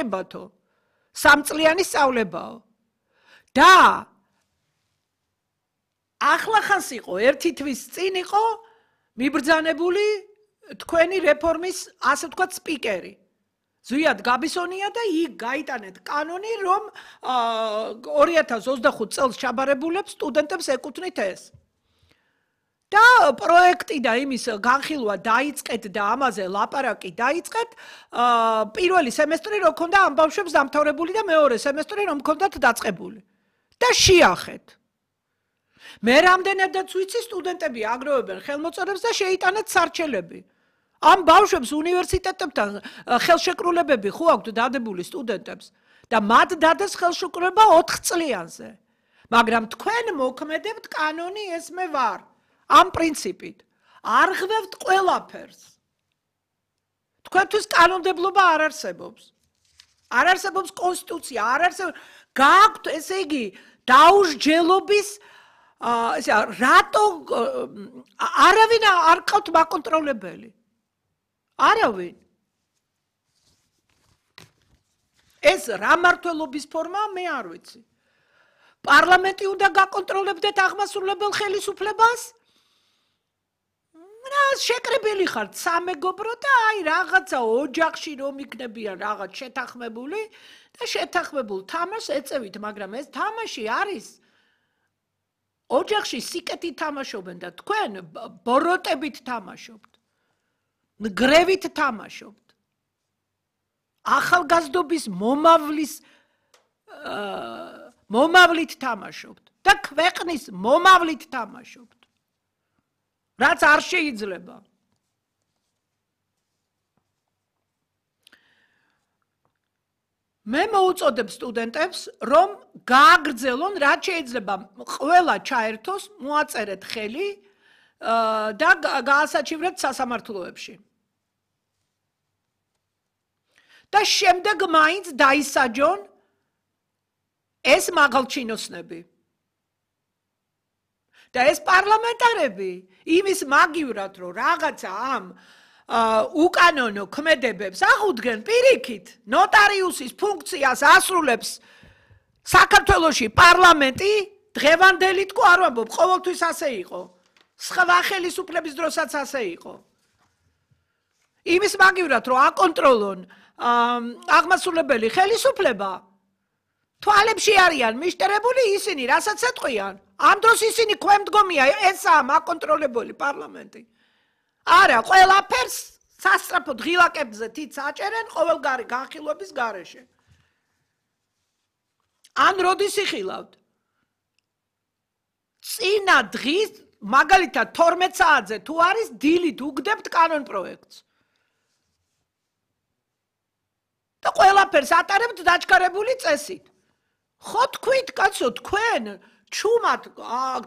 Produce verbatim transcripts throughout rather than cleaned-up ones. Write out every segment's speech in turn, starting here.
ებათო სამწლიანი სწავლებაო და ახლახანს იყო ერთი თვის წინ იყო მიბრძანებული თქვენი რეფორმის ასე ვთქვათ სპიკერი ზვიად გაბისონია და იქ გაიტანეთ კანონი რომ ორი ათას ოცდახუთ წელს ჩაბარებულებს სტუდენტებს ეკუთვნით ეს და პროექტი და იმის განხილვა დაიწყეთ და ამაზე ლაპარაკი დაიწყეთ პირველი სემესტრი რო ქონდა ამ ბავშვებს დამთავრებული და მეორე სემესტრი რომ ქონდათ დაწყებული და შეახეთ მე რამდენადაც ვიცი სტუდენტები აგროვებენ ხელმოწერებს და შეიტანეთ სარჩელები ამ ბავშვებს უნივერსიტეტებთან ხელშეკრულებები ხო აქვთ დადებული სტუდენტებს და მათ დადეს ხელშეკრულება ოთხ წლიანზე მაგრამ თქვენ მოქმედებთ კანონი ეს მე ვარ ამ პრინციპით არ ღვევთ ყველაფერს თქვენთვის კანონმდებლობა არ არსებობს არ არსებობს კონსტიტუცია არ არსებობს გააქვთ ესე იგი დაუსჯელობის ესე რატო არავინ არ ყავთ მაკონტროლებელი არავინ ეს რა მართლობის ფორმაა მე არ ვიცი პარლამენტი უნდა გაკონტროლებდეთ აღმასრულებელ ხელისუფლებას რა შეკრებილი ხართ სამეგობრო და აი რაღაცა ოჯახში რომ იქნებიან რაღაც შეთანხმებული და შეთანხმებულ თამაშს ეწევით მაგრამ ეს თამაში არის ოჯახში სიკეთით თამაშობენ და თქვენ ბოროტებით თამაშობთ ნგრევით თამაშობთ ახალგაზრდობის მომავლის მომავლით თამაშობთ და ქვეყნის მომავლით თამაშობთ რაც არ შეიძლება მე მოუწოდებ სტუდენტებს რომ გააგრძელონ რაც შეიძლება ყველა ჩაერთოს მოაწერეთ ხელი და გაასაჩივრეთ სასამართლოებში და შემდეგ მაინც დაისაჯონ ეს მაღალჩინოსნები და ეს პარლამენტარები იმის მაგივრად რომ რაღაცა ამ უკანონო ქმედებებს აღუდგენ პირიქით ნოტარიუსის ფუნქციას ასრულებს საქართველოში პარლამენტი დღევანდელი თქო არ ვამბობ ყოველთვის ასე იყო სხვა ხელისუფლების დროსაც ასე იყო იმის მაგივრად რომ აკონტროლონ აღმასრულებელი ხელისუფლება თვალებში არიან მიშტერებული ისინი რასაც ეთყვიან ამ დროს ისინი ქვემდგომია ესაა მაკონტროლებული პარლამენტი არა ყველაფერს სასწრაფოდ ღილაკებზე თიც აჭერენ ყოველგვარი განხილვების გარეშე ან როდის იხილავთ წინა დღის მაგალითად თორმეტ საათზე თუ არის დილით უგდებთ კანონ პროექტს და ყველაფერს ატარებთ დაჩქარებული წესით ხო თქვით კაცო თქვენ ჩუმად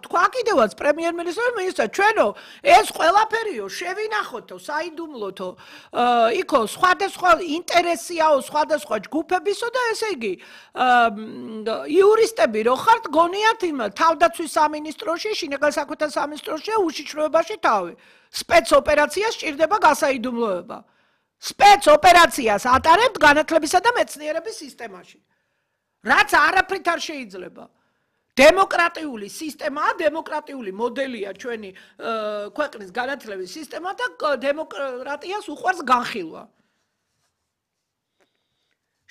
თქვა კიდევაც პრემიერ-მინისტრმა მინისტრა ჩვენო ეს ყველაფერიო შევინახოთო საიდუმლოთო იქო სხვადასხვა ინტერესიაო სხვადასხვა ჯგუფებისო და ესე იგი იურისტები რო ხართ გონიათ იმ თავდაცვის სამინისტროში შინაგან საქმეთა სამინისტროში უშიშროებაში თავი სპეცოპერაციას სჭირდება გასაიდუმლოება სპეცოპერაციას ატარებთ განათლებისა და მეცნიერების სისტემაში რაც არაფრით არ შეიძლება დემოკრატიული სისტემაა დემოკრატიული მოდელია ჩვენი ქვეყნის განათლების სისტემა და დემოკრატიას უყვარს განხილვა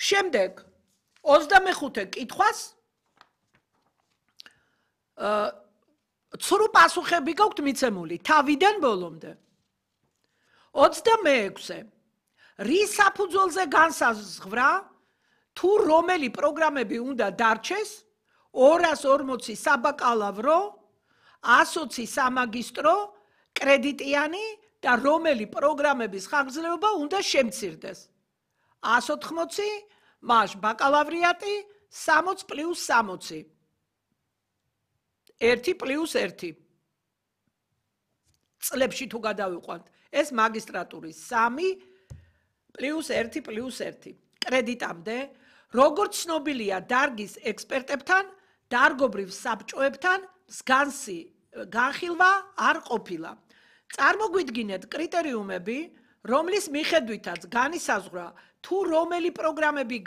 შემდეგ ოცდამეხუთე კითხვას ცრუ პასუხები გაქვთ მიცემული თავიდან ბოლომდე ოცდამეექვსე რის საფუძველზე განსაზღვრა თუ რომელი პროგრამები უნდა დარჩეს ორას ორმოცი საბაკალავრო, ასოცი სამაგისტრო, კრედიტიანი და რომელი პროგრამების ხანგრძლივობა უნდა შემცირდეს. ასი ოცდაოთხი, მას ბაკალავრიატი, სამოცი პლუს სამოცი. ერთი პლუს ერთი. წლებში თუ გადავიყვანთ, ეს მაგისტრატურის სამი პლუს ერთი პლუს ერთი. კრედიტამდე, როგორც ცნობილია დარგის ექსპერტებთან, დარგობრივ საბჭოებთან მსგავსი განხილვა არ ყოფილა. წარმოგვიდგინეთ კრიტერიუმები, რომლის მიხედვითაც განისაზღვრა თუ რომელი პროგრამები